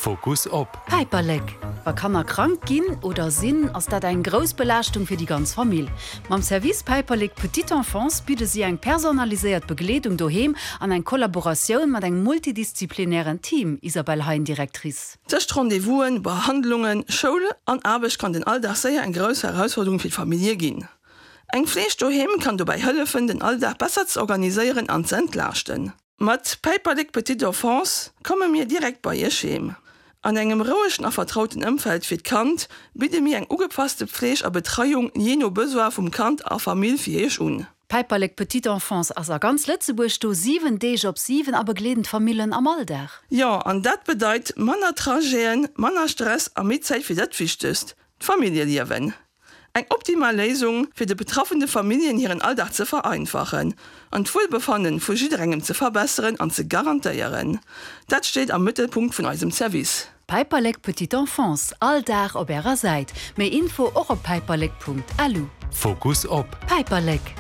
Fokus op. Päiperlek, Wa Kanner krank ginn oder sinn, ass dat eng grouss Belaaschtung fir déi ganz Famill. Mam Service Päiperlek Petite Enfance bidde si eng personaliséiert Begleedung doheem an eng Kollaboratioun mat engem multidisziplinären Team, Isabelle Hein, Directrice. Tëscht Rendez-vousen, Behandlungen, Schoul an Aarbecht kann den Alldag séier eng grouss Herausforderung fir d'Famillje ginn. Eng Fleeg doheem kann dobäi hëllefen, den Alldag besser ze organiséieren an ze entlaaschten. Mat Päiperlek Petite Enfance komme mir direkt bei Iech heem. An engem rouegen a vertrauten Ëmfeld fir d'Kand bidde mir eng ugepasste Pfleeg a Betreiung jee no Besoin vum Kand a Famill fir Iech un. Päiperlek Petite Enfance ass a ganz Lëtzebuerg do 7 Deeg op 7 a begleeden d'Famillen am Alldag. Jo, an dat bedeit manner Trajeten, manner Stress a méi Zäit fir dat Wichtegst, d'Familljeliewen. Eng optimal Léisung, fir de betraffene Familljen hiren Alldag ze vereinfachen an d'Wuelbefannen vu jidderengem ze verbesseren an ze garantéieren. Dat steet am Mëttelpunkt vun eisem Service. Päiperlek Petite Enfance, all Dag op ärer Säit. Méi Info och op päiperlek.lu. Fokus op. Päiperlek.